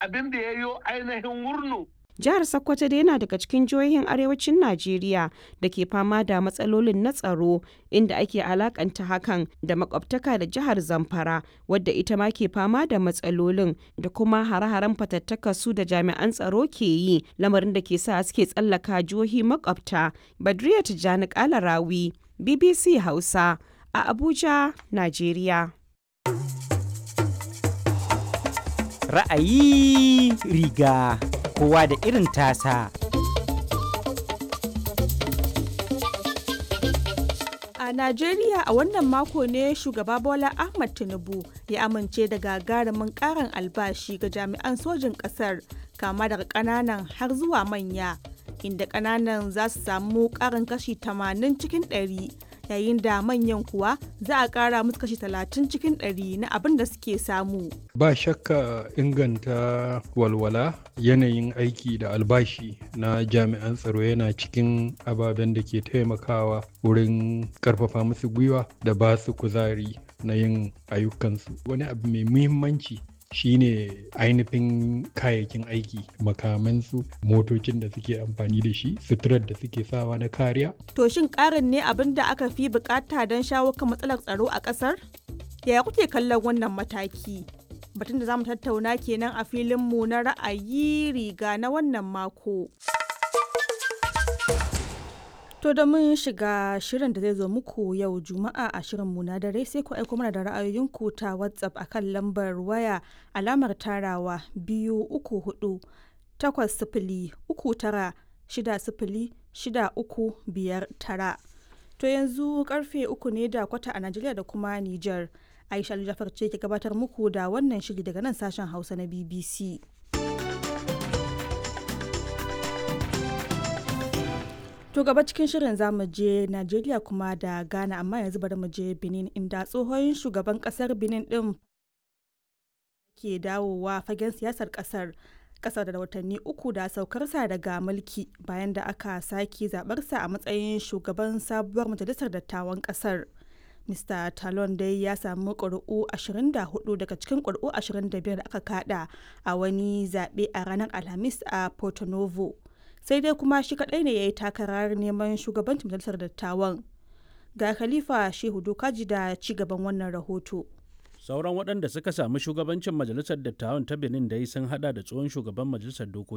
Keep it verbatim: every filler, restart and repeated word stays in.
Abin da ya yo ainihin wurnu. Jihar Sokoto dai yana daga cikin jihohin arewacin Najeriya da ke fama da matsalolin na tsaro, inda ake alakanta hakan da makwabtaka da jihar Zamfara, wadda ita ma ke fama da matsalolin da kuma hare-haren fatattaka su da jami'an tsaro ke yi, lamarin da ke sa suke tsallaka jihohi makwabta. Badriya Tijjani Kalarawi, B B C Hausa, a Abuja, Najeriya. Ra'ayi riga, kowa da irin tasa. A Najeriya a wannan mako ne shugaba Bola Ahmad Tinubu ya amince da gagarumin karin albashi ga jami'an sojin kasar, kama daga kananan har zuwa manya, inda kananan za su samu karin kashi tamanin cikin ɗari, yayin da manyan kuwa za a kara musu kashi talatin cikin ɗari na abin da suke samu. Ba shakka, inganta walwala, yanayin aiki da albashi na jami'an tsaro yana cikin ababen da ke taimakawa wurin karfafa musu gwiwa da ba su kuzari na yin ayyukansu. Wani abu mai muhimmanci shine ainihin kayayyakin aiki, makamansu, motocin da suke amfani da shi, suturar da suke sawa na kariya. To shin ƙarin ne abin da aka fi bukata don shawo kan matsalar tsaro a ƙasar? Yaya kuke kallon wannan mataki? Batun da za mu tattauna kenan a filinmu na ra'ayi riga na wannan mako. To da mun shiga shirin da zai zo muku yau Juma'a a shirinmu na dare, sai ku aiko mana da ra'ayoyinku ta WhatsApp akan lambar waya alamar tarawa biyu uku hudu takwas sifili uku tara shida sifili shida uku biyar tara. To yanzu karfe uku ne da kwata a Najeriya da kuma Nijar. Aisha Jafar ce ke gabatar muku da wannan shiri daga nan sashen Hausa na B B C. To gaba cikin shirin zamu je Najeriya kuma da Ghana, amma yanzu bari mu je Benin, inda tsohon shugaban kasar Benin din ke dawowa fagen siyasar kasar kasar da watanni uku da saukarsa daga mulki, bayan da aka sake zabarsa a matsayin shugaban sabuwar majalisar dattawan kasar. Mister Talon dai ya samu ƙuri'u ashirin da huɗu daga cikin ƙuri'u ashirin da biyar da aka kada a wani zaɓe a ranar Alhamis a Porto Novo. Sai dai kuma shi kaɗai ne ya yi takarar neman shugabancin majalisar dattawan. Ga Khalifa Shehu Dokaji da ci gaban wannan rahoto. Sauran waɗanda suka sami shugabancin majalisar dattawan ta Benin dai sun hada da tsohon shugaban majalisar dokoki